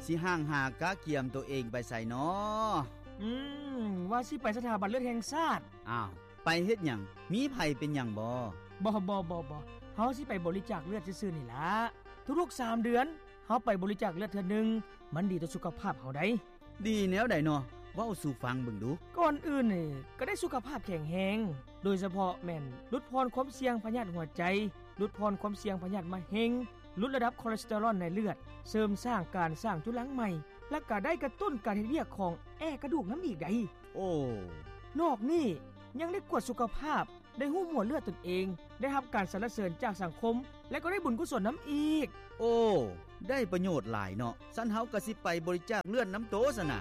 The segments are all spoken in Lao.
ຊິຫ່າງຫາກະກຽມໂຕເອງໄປໃສນໍ? ອືມ ວ່າຊິໄປສະຖາບັນເລືອດແຫ່ງຊາດ. ອ້າວ ໄປເຮັດຫຍັງ? ມີໃຜເປັນຫຍັງບໍ? ບໍ່ ບໍ່ ບໍ່ ບໍ່ ເຮົາຊິໄປບໍລິຈາກເລືອດຊື່ໆນີ້ລະ. ທຸກໆສາມເດືອນ ເຮົາໄປບໍລິຈາກເລືອດເທື່ອໜຶ່ງ ມັນດີຕໍ່ສຸຂະພາບເຮົາໃດ໋. ດີແນວໃດນໍ? ເວົ້າສູ່ຟັງເບິ່ງດູ. ກ່ອນອື່ນນີ້ ກະໄດ້ສຸຂະພາບແຂງແຮງ, ໂດຍສະເພາະແມ່ນຫຼຸດຜ່ອນຄວາມສ່ຽງພະຍາດຫົວໃຈ, ຫຼຸດຜ່ອນຄວາມສ່ຽງພະຍາດມະເຮັງ, ຫຼຸດລະດັບຄໍເລສເຕີຣອນໃນເລືອດ, ເສີມສ້າງການສ້າງຈຸລັງໃໝ່ ແລະກະໄດ້ກະຕຸ້ນການເຮັດວຽກຂອງແອກະດູກນຳອີກໃດ໋. ໂອ້ ນອກນີ້ຍັງໄດ້ກວດສຸຂະພາບ, ໄດ້ຮູ້ໝວດເລືອດຕົນເອງ, ໄດ້ຮັບການສັນລະເສີນຈາກສັງຄົມ ແລະກໍໄດ້ບຸນກຸສົນນຳອີກ. ໂອ້ ໄດ້ປະໂຫຍດຫຼາຍເນາະ. ຊັ້ນເຮົາກະຊິໄປບໍລິຈາກເລືອດນຳໂຕຊັ້ນນະ.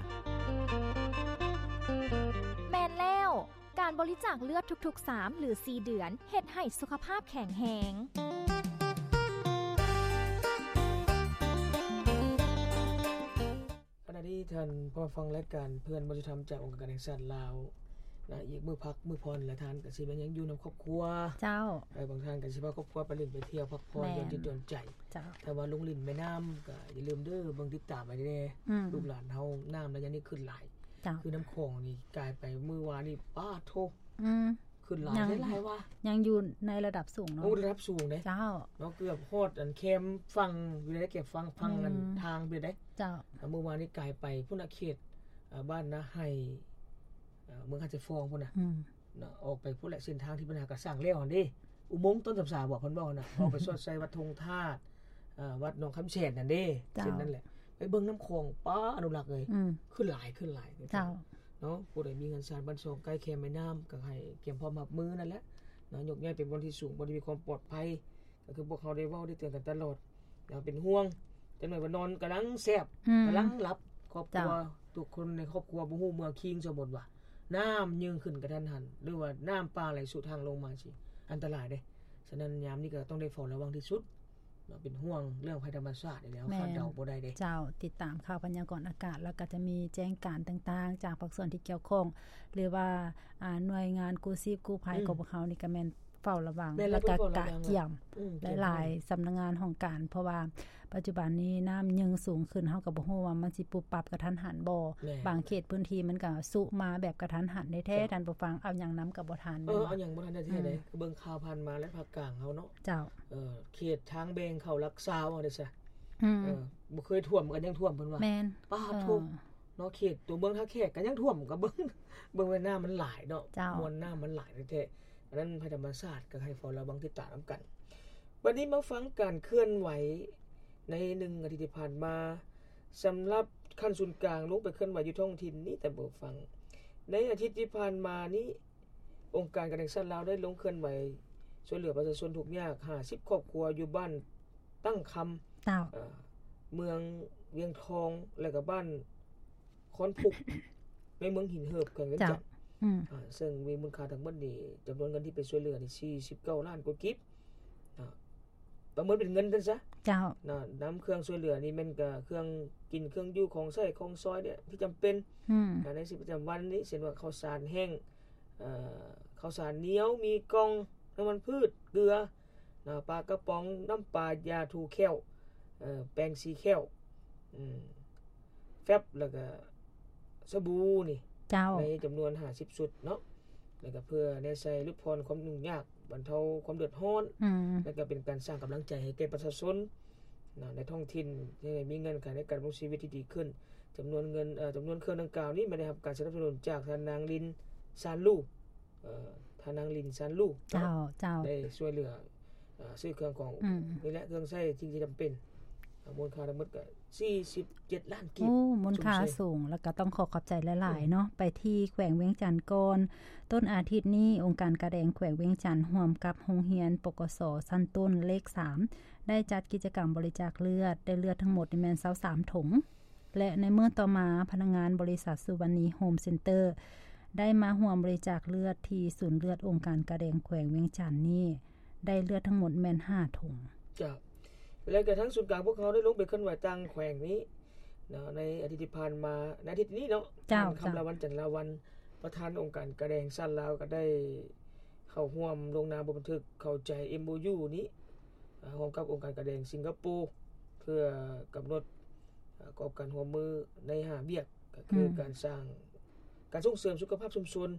ແມ່ນແລ້ວ, ການບໍລິຈາກເລືອດທຸກໆສາມ ຫຼື ສີ່ເດືອນ ເຮັດໃຫ້ສຸຂະພາບແຂງແຮງ. ຂະນະທີ່ທ່ານຜູ້ຟັງລາຍການເພື່ອນບໍ່ຍຸຕິທຳຈາກອົງການການແຫ່ງຊາດລາວນະ, ອີກມື້ພັກມື້ຜ່ອນລະທ່ານກະຊິແມ່ນຍັງຢູ່ນຳຄອບຄົວ. ເຈົ້າ. ເອີ ບາງທ່ານກະຊິພາຄອບຄົວໄປຫຼິ້ນໄປທ່ຽວພັກຜ່ອນ ແມ່ນ ຢ່ອນຈິດຢ່ອນໃຈ. ເຈົ້າ. ຖ້າວ່າລົງຫຼິ້ນແມ່ນ້ຳກະຢ່າລືມເດີ ເບິ່ງຕິດຕາມໄວ້ແດ່. ອືມ. ລູກຫຼານເຮົາ ນ້ຳໄລຍະນີ້ຂຶ້ນຫຼາຍ. ເຈົ້າ. ຄືນ້ຳຂອງນີ້ກາຍໄປມື້ວານນີ້ ປາດໂທ້. ອືມ. ຂຶ້ນຫຼາຍ ຍັງ ຫຼາຍວ່າ ຍັງຢູ່ໃນລະດັບສູງເນາະ. ໂອ້ ລະດັບສູງເດ້. ເຈົ້າ. ເນາະ ເກືອບຮອດອັນແຄມຝັ່ງຢູ່ໃດ໋ ແຄມຝັ່ງ ຝັ່ງອັນ ອືມ ທາງຢູ່ໃດ໋. ເຈົ້າ. ມື້ວານນີ້ກາຍໄປພຸ້ນນະ ເຂດ ເອີ ບ້ານນາໄຮ ເອີ ເມືອງຫາດຊາຍຟອງພຸ້ນນະ. ອືມ. ເນາະ ອອກໄປພຸ້ນແຫຼະ ເສັ້ນທາງທີ່ເພິ່ນຫາກະສ້າງແລ້ວຫັ້ນເດ້. ອຸມົງຕົ້ນສຳສາບໍເພິ່ນເວົ້າຫັ້ນນະ ອອກໄປສອດໃສ່ວັດທົ່ງທາດ ເອີ ວັດໜອງຄຳແສນຫັ້ນເດ້. ເຈົ້າ. ເສັ້ນນັ້ນແຫຼະ ໄປເບິ່ງນ້ຳຂອງ ປາ ອະນຸລັກເອີຍ. ອືມ. ຂຶ້ນຫຼາຍ ຂຶ້ນຫຼາຍ. ເຈົ້າ. ເນາະ ຜູ້ໃດມີເຮືອນຊານບ້ານຊ່ອງໃກ້ແຄມແມ່ນ້ຳ ກະໃຫ້ກຽມພ້ອມຮັບມືນັ້ນແຫຼະເນາະ. ຍົກຍ້າຍໄປບ່ອນທີ່ສູງ ບ່ອນທີ່ມີຄວາມປອດໄພ ກະຄືພວກເຮົາໄດ້ເວົ້າໄດ້ເຕືອນກັນຕະຫຼອດ. ຢ່າເປັນຫ່ວງ ຈັກໜ້ອຍວ່ານອນກຳລັງແຊບ ອືມ ກຳລັງຫຼັບ. ຄອບຄົວ ເຈົ້າ ທຸກຄົນໃນຄອບຄົວບໍ່ຮູ້ເມື່ອຄິງ ສົມມຸດວ່ານ້ຳຍຶ່ງຂຶ້ນກະທັນຫັນ ຫຼືວ່ານ້ຳປ່າໄຫຼສຸທາງລົງມາຊີ້ ອັນຕະລາຍເດ້. ສະນັ້ນຍາມນີ້ກະຕ້ອງໄດ້ເຝົ້າລະວັງທີ່ສຸດ. ເນາະ ເປັນຫ່ວງເລື່ອງໄພທຳມະຊາດນີ້ແຫຼະ ເຮົາຄາດເດົາບໍ່ໄດ້ເດ້. ເຈົ້າ. ຕິດຕາມຂ່າວພະຍາກອນອາກາດ ແລ້ວກະຈະມີແຈ້ງການຕ່າງໆຈາກພາກສ່ວນທີ່ກ່ຽວຂ້ອງ ຫຼືວ່າ ອາ ໜ່ວຍງານກູ້ຊີບກູ້ໄພ ອືມ ຂອງພວກເຮົານີ້ກະແມ່ນເຝົ້າລະວັງ ແມ່ນ ແລ້ວກະກະກຽມ ອືມ ຫຼາຍໆສຳນັກງານຫ້ອງການ ເພາະວ່າປັດຈຸບັນນີ້ນ້ຳຍິ່ງສູງຂຶ້ນ ເຮົາກະບໍ່ຮູ້ວ່າມັນຊິປຸບປັບກະທັນຫັນບໍ່. ແມ່ນ. ບາງເຂດພື້ນທີ່ມັນກະຊຸມາແບບກະທັນຫັນແທ້ໆ ເຈົ້າ ທ່ານຜູ້ຟັງ ເອົາຫຍັງນຳກະບໍ່ທັນ. ເອີ ເນາະ ເອົາຫຍັງບໍ່ທັນແທ້ໆ ອືມ ເລີຍ. ຄືເບິ່ງຂ່າວຜ່ານມາແລ້ວ ພາກກາງເຮົາເນາະ. ເຈົ້າ. ເອີ ເຂດທາງແບ່ງເຂົ້າຫຼັກຊາວເອົາເດ້ຊະ. ອືມ. ເອີ ບໍ່ເຄີຍຖ້ວມກະຍັງຖ້ວມເພິ່ນວ່າ. ແມ່ນ. ປາດໂທ້ ເອີ ເນາະ ເຂດຕົວເມືອງທ່າແຂກກະຍັງຖ້ວມ ກະເບິ່ງ ເບິ່ງແມ່ນ້ຳມັນຫຼາຍເນາະ. ເຈົ້າ. ມວນນ້ຳມັນຫຼາຍແທ້ໆ. ອັນນັ້ນໄພທຳມະຊາດກະໃຫ້ເຝົ້າລະວັງຕິດຕາມນຳກັນ. ບັດນີ້ມາຟັງການເຄື່ອນໄຫວໃນໜຶ່ງອາທິດທີ່ຜ່ານມາ ສຳລັບຂັ້ນສູນກາງລົງໄປເຄື່ອນໄຫວຢູ່ທ້ອງຖິ່ນນີ້ ທ່ານຜູ້ຟັງ. ໃນອາທິດທີ່ຜ່ານມານີ້ ອົງການການແຫ່ງຊາດລາວໄດ້ລົງເຄື່ອນໄຫວຊ່ວຍເຫຼືອປະຊາຊົນທຸກຍາກຫ້າສິບຄອບຄົວຢູ່ບ້ານຕັ້ງຄຳ ເຈົ້າ ເອີ ເມືອງວຽງທອງ ແລະກະບ້ານຄອນພຸກ ໃນເມືອງຫີນເຫີບ ແຂວງວຽງຈັນ. ເຈົ້າ. ອືມ. ອາ ເຊິ່ງມີມູນຄ່າທັງໝົດນີ້ ຈຳນວນເງິນທີ່ໄປຊ່ວຍເຫຼືອນີ້ສີ່ສິບເກົ້າລ້ານກວ່າກີບ. ອາ ປະເມີນເປັນເງິນຊັ້ນຊະ. ເຈົ້າ. ນະ ນຳເຄື່ອງຊ່ວຍເຫຼືອນີ້ແມ່ນກະເຄື່ອງກິນເຄື່ອງຢູ່ ຂອງໃຊ້ຂອງສອຍເດ ທີ່ຈຳເປັນ ອືມ ໃນຊີວິດປະຈຳວັນນີ້ ເຊັ່ນວ່າເຂົ້າສານແຫ້ງ ເອີ ເຂົ້າສານໜຽວ ໝີ່ກ່ອງ ນ້ຳມັນພືດ ເກືອ ນະ ປາກະປ໋ອງ ນ້ຳປາ ຢາຖູແຂ້ວ ເອີ ແປງສີແຂ້ວ ອືມ ແຟັບ ແລ້ວກະສະບູນີ້ ເຈົ້າ ໃນຈຳນວນຫ້າສິບຊຸດເນາະ ແລ້ວກະເພື່ອແນໃສ່ຫຼຸດຜ່ອນຄວາມຫຍຸ້ງຍາກ ບັນເທົາຄວາມເດືອດຮ້ອນ ອືມ ແລ້ວກະເປັນການສ້າງກຳລັງໃຈໃຫ້ແກ່ປະຊາຊົນ ເນາະ ໃນທ້ອງຖິ່ນ ໃຫ້ມີເງື່ອນໄຂໃນການດຳລົງຊີວິດທີ່ດີຂຶ້ນ. ຈຳນວນເງິນ ເອີ ຈຳນວນເຄື່ອງດັ່ງກ່າວນີ້ ແມ່ນໄດ້ຮັບການສະໜັບສະໜູນຈາກທ່ານນາງລິນ ຊານລູ ເອີ ທ່ານນາງລິນ ຊານລູ ເຈົ້າ ເຈົ້າ ໄດ້ຊ່ວຍເຫຼືອ ເອີ ຊື້ເຄື່ອງຂອງ ອືມ ນີ້ແຫຼະ ເຄື່ອງໃຊ້ສິ່ງທີ່ຈຳເປັນ ມູນຄ່າທັງໝົດກະສີ່ສິບເຈັດລ້ານກີບ. ໂອ້ ມູນຄ່າສູງ ແລ້ວກະຕ້ອງຂໍຂອບໃຈຫຼາຍໆ ອືມ ເນາະ ໄປທີ່ແຂວງວຽງຈັນກ່ອນ. ຕົ້ນອາທິດນີ້ ອົງການກາແດງແຂວງວຽງຈັນ ຮ່ວມກັບໂຮງຮຽນ ປກສ ຊັ້ນຕົ້ນເລກສາມ ໄດ້ຈັດກິດຈະກຳບໍລິຈາກເລືອດ ໄດ້ເລືອດທັງໝົດນີ້ແມ່ນຊາວສາມຖົງ ແລະ ໃນມື້ຕໍ່ມາ ພະນັກງານບໍລິສັດສຸວັນນີໂຮມເຊັນເຕີ ໄດ້ມາຮ່ວມບໍລິຈາກເລືອດທີ່ສູນເລືອດອົງການກາແດງແຂວງວຽງຈັນນີ້ ໄດ້ເລືອດທັງໝົດແມ່ນຫ້າຖົງ. ເຈົ້າ. ແລ້ວກະທາງສູນກາງພວກເຮົາໄດ້ລົງໄປເຄື່ອນໄຫວຕ່າງແຂວງນີ້ເນາະ ໃນອາທິດທີ່ຜ່ານມາ ໃນອາທິດນີ້ເນາະ. ເຈົ້າ. ທ່ານ ເຈົ້າ ຄຳລາວັນ ຈັນລາວັນ ປະທານອົງການກາແດງຊາດລາວ ກະໄດ້ເຂົ້າຮ່ວມລົງນາມບົດບັນທຶກເຂົ້າໃຈ ເອັມໂອຢູ ນີ້ ເອີ ຮ່ວມກັບອົງການກາແດງສິງກະໂປ ເພື່ອກຳນົດ ເອີ ປະກອບການຮ່ວມມືໃນຫ້າວຽກ ກໍຄື ອືມ ການສ້າງ ການສົ່ງເສີມສຸຂະພາບຊຸມຊົນ,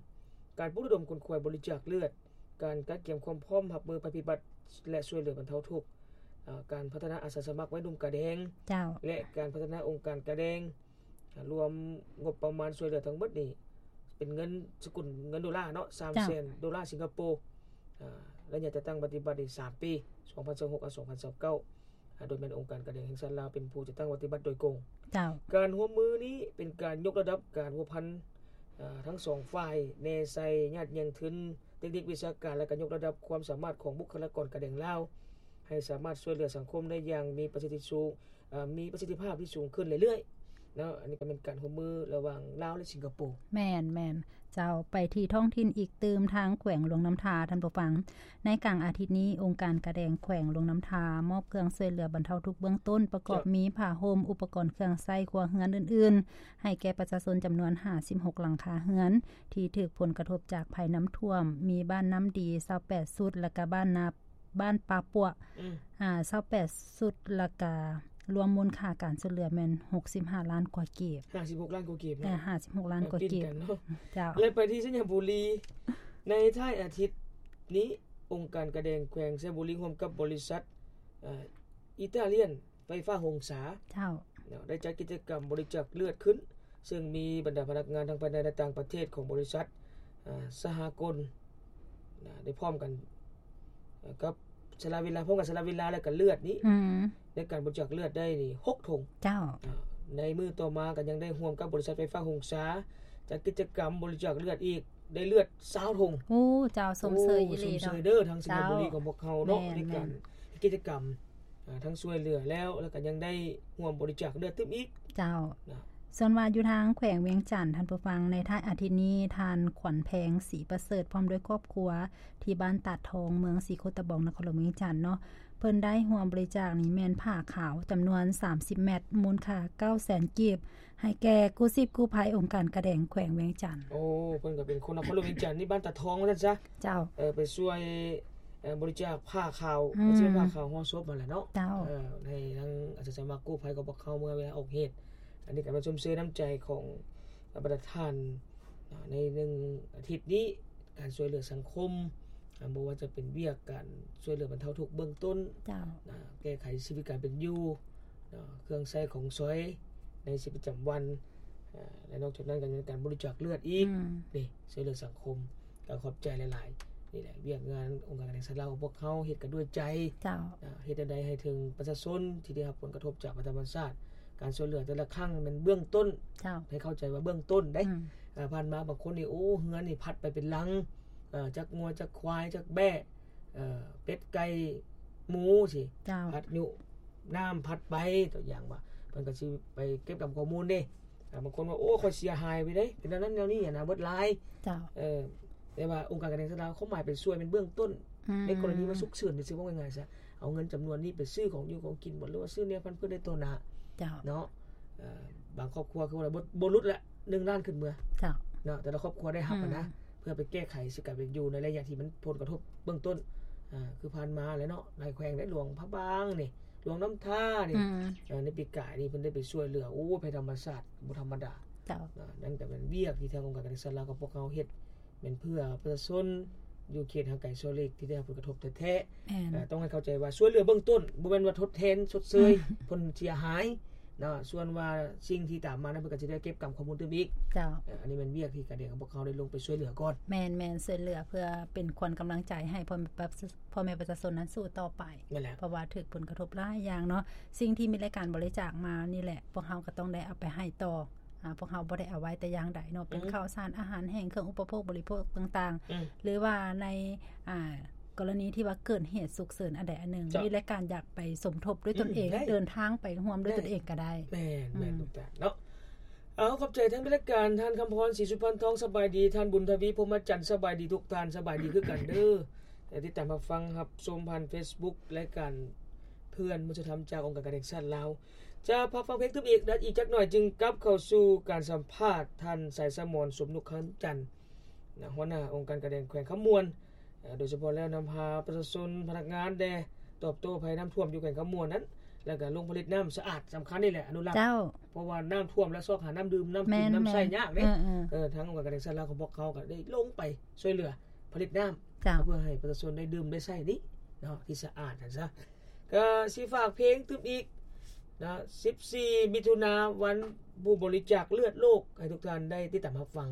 ການປຸກລະດົມຂົນຂວາຍບໍລິຈາກເລືອດ, ການກະກຽມຄວາມພ້ອມຮັບມືໄພພິບັດ ແລະ ຊ່ວຍເຫຼືອບັນເທົາທຸກ, ອາ ການພັດທະນາອາສາສະໝັກໄວໜຸ່ມກາແດງ ເຈົ້າ ແລະ ການພັດທະນາອົງການກາແດງ, ອາ ລວມງົບປະມານຊ່ວຍເຫຼືອທັງໝົດນີ້ ເປັນເງິນສະກຸນເງິນໂດລາເນາະ ສາມແສນ ເຈົ້າ ໂດລາສິງກະໂປ, ອາ ໄລຍະຈັດຕັ້ງປະຕິບັດນີ້ສາມປີ ສອງພັນຊາວຫົກ ອາ ສອງພັນຊາວເກົ້າ. ອາ ໂດຍແມ່ນອົງການການແດງແຫ່ງຊາດລາວເປັນຜູ້ຈັດຕັ້ງປະຕິບັດໂດຍກົງ. ເຈົ້າ. ການຮ່ວມມືນີ້ເປັນການຍົກລະດັບການພົວພັນ ອາ ທັງສອງຝ່າຍ ແນໃສ່ຍາດແຍ່ງທຶນ ເຕັກນິກວິຊາການ ແລະ ກະຍົກລະດັບຄວາມສາມາດຂອງບຸກຄະລາກອນການແດງລາວ ໃຫ້ສາມາດຊ່ວຍເຫຼືອສັງຄົມໄດ້ຢ່າງມີປະສິດທິສູງ ເອີ ມີປະສິດທິພາບທີ່ສູງຂຶ້ນເລື້ອຍໆເນາະ. ອັນນີ້ກໍແມ່ນການຮ່ວມມືລະຫວ່າງລາວ ແລະ ສິງກະໂປ. ແມ່ນໆ. ເຈົ້າ ໄປທີ່ທ້ອງຖິ່ນອີກຕື່ມ ທາງແຂວງຫຼວງນ້ຳທາ ທ່ານຜູ້ຟັງ. ໃນກາງອາທິດນີ້ ອົງການກາແດງແຂວງຫຼວງນ້ຳທາ ມອບເຄື່ອງຊ່ວຍເຫຼືອບັນເທົາທຸກເບື້ອງຕົ້ນ ປະກອບ ເຈົ້າ ມີຜ້າຫົ່ມ, ອຸປະກອນເຄື່ອງໃຊ້ຄົວເຮືອນອື່ນໆ ໃຫ້ແກ່ປະຊາຊົນຈຳນວນຫ້າສິບຫົກຫຼັງຄາເຮືອນ ທີ່ຖືກຜົນກະທົບຈາກໄພນ້ຳຖ້ວມ, ມີບ້ານນ້ຳດີຊາວແປດຊຸດ ແລະ ກະບ້ານນາ ບ້ານປ່າປົວ ອືມ ອາ ຊາວແປດຊຸດ ແລ້ວກະລວມມູນຄ່າການຊ່ວຍເຫຼືອແມ່ນຫົກສິບຫ້າລ້ານກວ່າກີບ. ຫ້າສິບຫົກລ້ານກວ່າກີບເນາະ. ເອີ ຫ້າສິບຫົກລ້ານກວ່າກີບ. ເອີ ເນາະ. ເຈົ້າ. ແລະ ໄປທີ່ໄຊຍະບູລີ ໃນທ້າຍອາທິດນີ້ ອົງການກາແດງແຂວງໄຊຍະບູລີ ຮ່ວມກັບບໍລິສັດ ເອີ ອີຕາລຽນ ໄຟຟ້າຫົງສາ ເຈົ້າ ເນາະ ໄດ້ຈັດກິດຈະກຳບໍລິຈາກເລືອດຂຶ້ນ ເຊິ່ງມີບັນດາພະນັກງານທັງພາຍໃນ ແລະ ຕ່າງປະເທດຂອງບໍລິສັດ ອາ ສະຫະກົນ ນະ ໄດ້ພ້ອມກັນ ເອີ ກັບສະຫຼະເວລາ ພ້ອມກັນສະຫຼະເວລາ ແລະ ກະເລືອດນີ້ ອືມ ໃນການບໍລິຈາກເລືອດໄດ້ນີ້ຫົກຖົງ. ເຈົ້າ. ອາ ໃນມື້ຕໍ່ມາກໍຍັງໄດ້ຮ່ວມກັບບໍລິສັດໄຟຟ້າຫົງສາ ຈັດກິດຈະກຳບໍລິຈາກເລືອດອີກ ໄດ້ເລືອດຊາວຖົງ. ໂອ້ ເຈົ້າ ຊົມເຊີຍອີ່ຫຼີເນາະ. ໂອ້ ຊົມເຊີຍເດີ ທາງໄຊຍະບູລີຂອງພວກເຮົາເນາະ ໃນການເຮັດກິດຈະກຳ ອາ ທັງຊ່ວຍເຫຼືອແລ້ວ ແລ້ວກໍຍັງໄດ້ຮ່ວມບໍລິຈາກເລືອດຕື່ມອີກ. ເຈົ້າ. ນະ ສ່ວນວ່າຢູ່ທາງແຂວງວຽງຈັນ ທ່ານຜູ້ຟັງ, ໃນທ້າຍອາທິດນີ້ ທ່ານ ຂວັນແພງ ສີປະເສີດ ພ້ອມດ້ວຍຄອບຄົວ ທີ່ບ້ານຕາດທອງ ເມືອງສີໂຄດຕະບອງ ນະຄອນຫຼວງວຽງຈັນເນາະ, ເພິ່ນໄດ້ຮ່ວມບໍລິຈາກນີ້ແມ່ນຜ້າຂາວຈຳນວນສາມສິບແມັດ ມູນຄ່າເກົ້າແສນກີບ ໃຫ້ແກ່ກູ້ຊີບກູ້ໄພອົງການກາແດງແຂວງວຽງຈັນ. ໂອ້ ເພິ່ນກໍເປັນຄົນນະຄອນຫຼວງວຽງຈັນ ນີ້ບ້ານຕາດທອງວ່າຊັ້ນຊະ. ເຈົ້າ. ເອີ ໄປຊ່ວຍ ເອີ ບໍລິຈາກຜ້າຂາວ ອືມ ກໍຊິເປັນຜ້າຂາວຫໍ່ສົບຫັ້ນແຫຼະເນາະ. ເຈົ້າ. ເອີ ໃຫ້ທາງອາສາສະໝັກກູ້ໄພຂອງພວກເຮົາ ເມື່ອເວລາອອກເຫດ. ອັນນີ້ກໍມາຊົມເຊີຍນ້ຳໃຈຂອງບັນດາທ່ານ ໃນໜຶ່ງອາທິດນີ້ ການຊ່ວຍເຫຼືອສັງຄົມ ບໍ່ວ່າຈະເປັນວຽກການຊ່ວຍເຫຼືອບັນເທົາທຸກເບື້ອງຕົ້ນ ເຈົ້າ ນະ ແກ້ໄຂຊີວິດການເປັນຢູ່ ນະ ເຄື່ອງໃຊ້ຂອງສອຍໃນຊີວິດປະຈຳວັນ ອາ ແລະ ນອກຈາກນັ້ນກໍຍັງມີການບໍລິຈາກເລືອດອີກ ອືມ ນີ້ ຊ່ວຍເຫຼືອສັງຄົມ ກໍຂອບໃຈຫຼາຍໆ. ນີ້ແຫຼະ ວຽກງານອົງການການແດງຊາດລາວຂອງພວກເຮົາເຮັດກັນດ້ວຍໃຈ ເຈົ້າ ນະ ເຮັດແນວໃດໃຫ້ເຖິງປະຊາຊົນທີ່ໄດ້ຮັບຜົນກະທົບຈາກໄພທຳມະຊາດ ການຊ່ວຍເຫຼືອແຕ່ລະຄັ້ງແມ່ນເບື້ອງຕົ້ນ ເຈົ້າ ໃຫ້ເຂົ້າໃຈວ່າເບື້ອງຕົ້ນເດ້ ອືມ ເອີ ຜ່ານມາບາງຄົນນີ້ ໂອ້ ເຮືອນນີ້ພັດໄປເປັນຫຼັງ ເອີ ຈັກງົວ ຈັກຄວາຍ ຈັກແບ້ ເອີ ເປັດ ໄກ່ ໝູ ຊີ້ ເຈົ້າ ພັດຍຸ ນ້ຳພັດໄປ ຕົວຢ່າງວ່າ ເພິ່ນກໍຊິໄປເກັບກຳຂໍ້ມູນເດ້ ອາ ບາງຄົນວ່າ ໂອ້ ຂ້ອຍເສຍຫາຍໄປເດ້ ເປັນແນວນັ້ນແນວນີ້ຫັ້ນນະ ເບິດຫຼາຍ ເຈົ້າ ເອີ ແຕ່ວ່າອົງການການແດງຊາດລາວ ຄວາມໝາຍເປັນຊ່ວຍ ເປັນເບື້ອງຕົ້ນ ອືມ ໃນກໍລະນີວ່າສຸກເສີນ ຊິເວົ້າງ່າຍໆຊະ ເອົາເງິນຈຳນວນນີ້ໄປຊື້ຂອງຢູ່ຂອງກິນ ຫຼືວ່າຊື້ແນວພັນພືດໄດ້ຕໍ່ໜ້າ ເຈົ້າ ເນາະ ເອີ ບາງຄອບຄົວຄືວ່າບໍ່ ບໍ່ຫຼຸດລະ ໜຶ່ງລ້ານຂຶ້ນເມືອ ເຈົ້າ ເນາະ ແຕ່ລະຄອບຄົວໄດ້ຮັບ ອືມ ຫັ້ນນະ ເພື່ອໄປແກ້ໄຂຊີວິດການເປັນຢູ່ໃນໄລຍະທີ່ມັນຜົນກະທົບເບື້ອງຕົ້ນ ອາ ຄືຜ່ານມາແຫຼະເນາະ ຫຼາຍແຂວງໄດ້ ຫຼວງພະບາງນີ້ ຫຼວງນ້ຳທານີ້ ອືມ ເອີ ໃນປີກາຍນີ້ເພິ່ນໄດ້ໄປຊ່ວຍເຫຼືອ ໂອ້ ໄພທຳມະຊາດບໍ່ທຳມະດາ ເຈົ້າ ນະ ນັ້ນກໍເປັນວຽກທີ່ທາງອົງການການແດງຊາດລາວກັບພວກເຮົາເຮັດ ແມ່ນເພື່ອປະຊາຊົນຢູ່ເຂດຫ່າງໄກສອກຫຼີກທີ່ໄດ້ຮັບຜົນກະທົບແທ້ໆ ແມ່ນ ເອີ ຕ້ອງໃຫ້ເຂົ້າໃຈວ່າຊ່ວຍເຫຼືອເບື້ອງຕົ້ນ ບໍ່ແມ່ນວ່າທົດແທນຊົດເຊີຍ ອືມ ຜົນເສຍຫາຍເນາະ ສ່ວນວ່າສິ່ງທີ່ຕາມມານັ້ນ ເພິ່ນກໍຊິໄດ້ເກັບກຳຂໍ້ມູນຕື່ມອີກ ເຈົ້າ ເອີ ອັນນີ້ແມ່ນວຽກທີ່ການແດງຂອງພວກເຮົາໄດ້ລົງໄປຊ່ວຍເຫຼືອກ່ອນ ແມ່ນໆ ຊ່ວຍເຫຼືອເພື່ອເປັນຂວັນກຳລັງໃຈໃຫ້ພໍ່ແມ່ປະຊາຊົນນັ້ນສູ້ຕໍ່ໄປ ແມ່ນແລ້ວ ເພາະວ່າຖືກຜົນກະທົບຫຼາຍຢ່າງເນາະ ສິ່ງທີ່ມີລາຍການບໍລິຈາກມານີ້ແຫຼະ ພວກເຮົາກໍຕ້ອງໄດ້ເອົາໄປໃຫ້ຕໍ່ ອາ ພວກເຮົາບໍ່ໄດ້ເອົາໄວ້ແຕ່ຢ່າງໃດເນາະ ເປັນ ອືມ ເຂົ້າສານ ອາຫານແຫ້ງ ເຄື່ອງອຸປະໂພກບໍລິໂພກຕ່າງໆ ອືມ ຫຼືວ່າໃນ ອາ ກໍລະນີທີ່ວ່າເກີດເຫດສຸກເສີນອັນໃດອັນໜຶ່ງ ເຈົ້າ ມີລາຍການຢາກໄປສົມທົບດ້ວຍຕົນເອງ ອືມ ໄດ້ ເດີນທາງໄປຮ່ວມດ້ວຍ ໄດ້ ຕົນເອງກໍໄດ້ ແມ່ນ ອືມ ແມ່ນ ທຸກທ່ານເນາະ ເອົາ ຂອບໃຈທາງລາຍການ ທ່ານຄຳພອນ ສີສຸພັນທອງ ສະບາຍດີ ທ່ານບຸນທະວີ ພົມມະຈັນ ສະບາຍດີທຸກທ່ານ ສະບາຍດີຄືກັນເດີ ແລະ ຕິດຕາມຮັບຟັງຮັບຊົມຜ່ານເຟສບຸກ ລາຍການເພື່ອນມະນຸດສະທຳຈາກອົງການການແດງຊາດລາວ ຈະພັກຟັງເພງຕື່ມອີກ ແລະ ອີກຈັກໜ່ອຍຈຶ່ງກັບເຂົ້າສູ່ການສຳພາດທ່ານ ສາຍສະໝອນ ສົມນຸກຄຳຈັນ ນະ ຫົວໜ້າອົງການການແດງແຂວງຄຳມ່ວນ ເອີ ໂດຍສະເພາະແລ້ວນຳພາປະຊາຊົນ ພະນັກງານແດ່ ຕອບໂຕ້ໄພນ້ຳຖ້ວມຢູ່ແຂວງຄຳມ່ວນນັ້ນ ແລ້ວກໍລົງຜະລິດນ້ຳສະອາດ ສຳຄັນນີ້ແຫຼະ ອະນຸລັກ ເຈົ້າ ເພາະວ່ານ້ຳຖ້ວມແລ້ວຊອກຫານ້ຳດື່ມ ນ້ຳກິນ ແມ່ນໆ ນ້ຳໃຊ້ຍາກເດ້ ເອີໆ ເອີ ທາງອົງການການສຶກສາລາວຂອງພວກເຮົາກໍໄດ້ລົງໄປຊ່ວຍເຫຼືອຜະລິດນ້ຳ ເຈົ້າ ເພື່ອໃຫ້ປະຊາຊົນໄດ້ດື່ມໄດ້ໃຊ້ນີ້ເນາະ ທີ່ສະອາດຫັ້ນຊະ. ກໍຊິຝາກເພງຕື່ມອີກເນາະ ສິບສີ່ ມິຖຸນາ ວັນຜູ້ບໍລິຈາກເລືອດໂລກ ໃຫ້ທຸກທ່ານໄດ້ຕິດຕາມຮັບຟັງ